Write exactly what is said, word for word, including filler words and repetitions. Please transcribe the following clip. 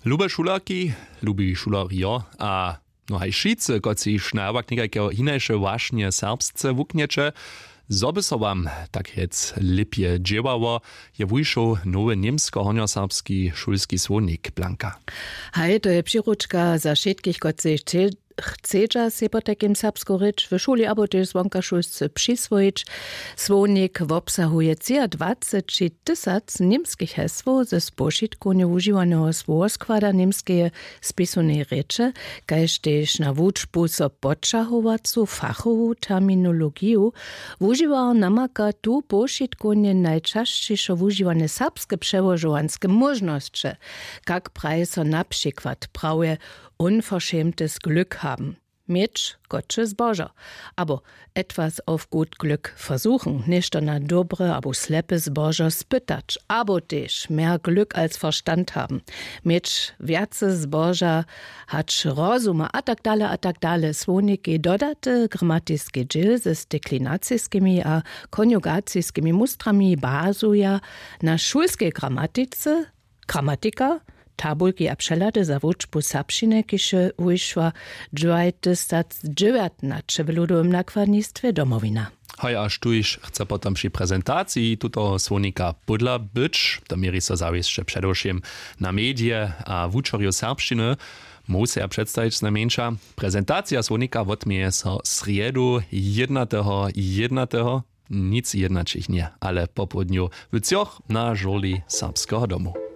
Lube šulerki, lubi šulerjo, a no haj wšitcy, kotřiž na jawak někajkeho hinaše wašnje serbsce wuknjeće, zo by so wam tak rjec lěpje dźěłało, je wušoł nowy němsko-hornjoserbski šulski słownik. Blanka. Haj, to je přiručka za wšitkich, kotřiž chcedźa sej potajkim serbsku rěč w šuli abo tež zwonkašulsce přiswojić. Słownik wobsahuje třiadwaceći tysac němskich hesłow ze spožitkownje wužiwaneho słowoskłada němskeje spisowneje rěče, kaž tež na wučbu so poćahowacu fachowu terminologiju. Wužiwar namaka tu pošitkowanje najčasćišo wužiwane serbske přełožowanske móžnosće. Kak praji so na přikład prawje: Unverschämtes Glück haben, měć kotře zbožo, abo etwas auf gut Glück versuchen, něšto na dobre abo slepe zbožo spytać, abo tež mehr Glück als Verstand haben, měć wjace zboža hač rozuma a tak dale a tak dale. Słownikej dodate gramatiske dźěl ze steklinaciskimi a konjugaciskimi mustrami bazuja na šulskej gramatice, gramatika, tabulki a přehlady za wučbu serbšćiny, kiž je wušła dwajtysacdźewjatnaće w ludowym nakładnistwje Domowina. Haj, a štóž chce potom při prezentaciji tutoho słownika pódla być, to měri so zawěsće předewšěm na medije a wučerjow serbšćiny, móhł se ja předstajić znajmjeńša. Prezentacija słownika wotměje so srjedu, jednateho jednateho, nic jednaćich nje, ale popołdnju w třoch na žurli Serbskeho domu.